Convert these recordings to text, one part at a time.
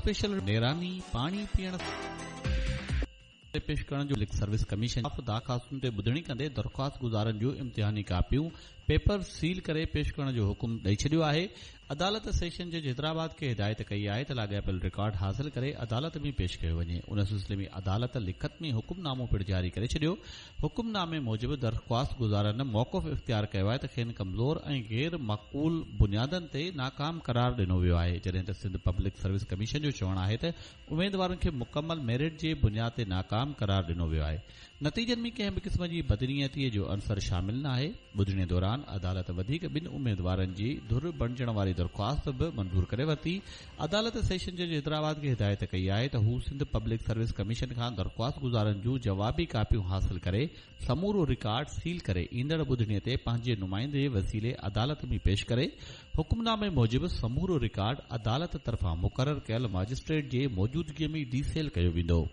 Special نيراني پاڻي پيئڻ تي پيش ڪرڻ جو پبلڪ سروس ڪميشن درخواستن تي ٻڌڻي ڪندي درخواستگذارن جون امتحاني ڪاپيون پيپر سيل ڪري پيش ڪرڻ جو حڪم ڏئي ڇڏيو آهي. عدالت سيشن جج حيدرآباد کي هدايت ڪئي آهي ته لاڳاپيل رڪارڊ حاصل ڪري عدالت ۾ پيش ڪيو وڃي. ان سلسلي ۾ عدالت لکت ۾ حڪم نامو پڻ جاري ڪري ڇڏيو. حڪم نامي موجب درخواستگذارن موقف اختيار ڪيو آهي ته کين ڪمزور ۽ غير معقول بنيادن تي ناڪام قرار ڏنو ويو آهي جڏهن ته سنڌ پبلڪ سروس ڪميشن جو چوڻ آهي ته اميدوارن کي مڪمل ميرٽ جي بنياد تي ناڪام قرار ڏنو ويو آهي. نتيجن ۾ ڪنهن به قسم جي بدنيتي جو عنصر شامل ناهي. ٻڌڻي دوران عدالت وڌيڪ ٻن اميدوارن جي ڌر بڻجڻ واري درخواست به منظور ڪري ورتي. عدالت سيشن جج حيدرآباد کي هدايت ڪئي آهي ته هو سنڌ پبلڪ سروس ڪميشن کان درخواستگذارن جون جوابي ڪاپيون حاصل ڪري سمورو رڪارڊ سيل ڪري ايندڙ ٻڌڻي تي پنهنجي نمائندي وسيلي عدالت ۾ پيش ڪري. حڪمنامي موجب سمورو رڪارڊ عدالت طرفان مقرر ڪيل ماجسٽريٽ جي موجودگي ۾ ڊي سيل ڪيو ويندو.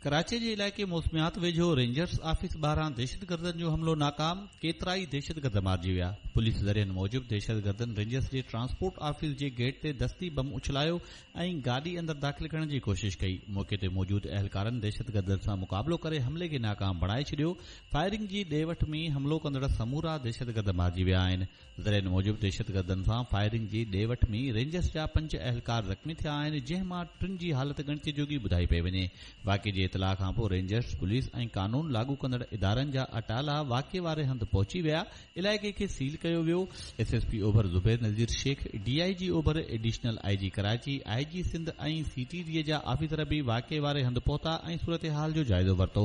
ڪراچي جي علائقي موسميات ويجهو رينجرز آفيس ٻاهران دهشتگردن جو حملو ناڪام، ڪيترائي دهشتگرد مارجي ويا. پوليس ذريعن موجب دهشتگردن رينجرز جي ٽرانسپورٽ آفيس جي گيٽ تي دستي بم اڇلايو ۽ گاڏي اندر داخل ڪرڻ جي ڪوشش ڪئي، موقعي تي موجود اهلڪارن دهشتگردن سان مقابلو ڪري حملي کي ناڪام بڻائي ڇڏيو، فائرنگ جي ڏي وٺ ۾ حملو ڪندڙ سمورا دهشتگرد مارجي ويا آهن، ذريعن موجب دهشتگردن سان فائرنگ جي ڏي وٺ ۾ رينجرز جا پنج اهلڪار زخمي ٿيا آهن، جنهن مان ٽن جي حالت ڳڻتي جوڳي ٻڌائي پئي وڃي، واقعي جي اطلاع کانپوء رينجرز، پوليس ۽ قانون لاڳو ڪندڙ ادارن جا اٽالا واقعي واري هنڌ پهچي ويا، علائقي کي سيل ڪيو ويو، ايس ايس پي اوڀر Zubair Nazir Shaikh, D I جي اوڀر، ايڊيشنل I جي ڪراچي، آء جي سنڌ ۽ سي ٽي ڊي جا آفيسر به واقعي واري هنڌ پهتا ۽ صورتحال جو جائزو ورتو،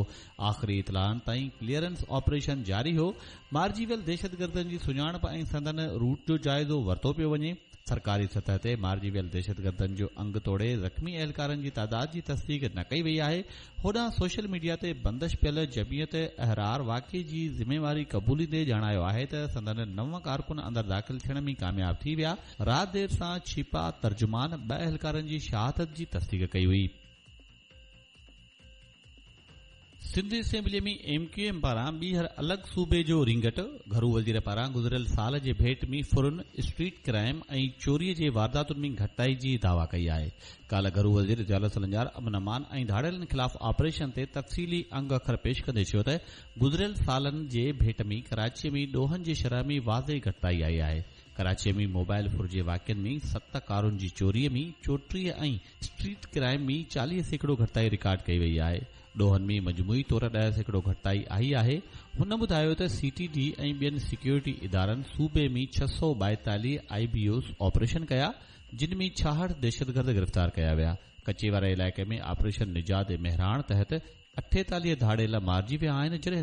آخري اطلاعن تائين ڪليئرنس آپريشن جاري هو، مارجي ويل دهشتگردن جي سڃاڻپ ۽ سندن روٽ جو جائزو ورتو پيو وڃي. سرڪاري سطح تي مارجي ويل دهشتگردن جو انگ توڙي زخمي اهلڪارن جي تعداد جي تصديق نه ڪئي وئي آهي، هوڏانهن سوشل ميڊيا تي بندش پيل جمعيت احرار واقعي جي ذميواري قبوليندي ڄاڻايو آهي ته سندن نو ڪارڪن اندر داخل ٿيڻ ۾ ڪامياب ٿي ويا، رات دير سان ڇيپا ترجمان ٻه اهلڪارن جي شهادت جي تصديق ڪئي هئي. Sindh assembly ۾ M Q M پاران ٻيهر الڳ صوبي جو رينگٽ، گهرو وزير پاران گذريل سال جي ڀيٽ ۾ ڦرن، اسٽريٽ ڪرائم ۽ چوري جي وارداتن ۾ گهٽتائي جي دعويٰ ڪئي آهي. ڪالهه گهرو وزير ضياء السلنجار امن امان ۽ ڌاڙيلن خلاف آپريشن تي تفصيلي انگ اکر پيش ڪندي چيو ته گذريل سالن جي ڀيٽ ۾ ڪراچي ۾ ڏوهن جي شرح ۾ واضح گهٽتائي آئي آهي، ڪراچي ۾ موبائل ڦر جي واقعن ۾ ست، ڪارن جي چوري ۾ 34 ۽ اسٽريٽ ڪرائم ۾ 40% گهٽتائي رڪارڊ ڪئي وئي آهي، ڏوهن ۾ مجموعي طور 10% گهٽتائي آئي آهي، هن ٻڌايو ته سي ٽي ڊي ۽ ٻين سيڪيورٽي ادارن صوبي ۾ 642 آء بي اوز آپريشن ڪيا، جن ۾ 66 دهشتگرد گرفتار ڪيا ويا، ڪچي واري علائقي ۾ آپريشن نجات مهراڻ تحت 48 ڌاڙيل مارجي ويا آهن، جڏهن.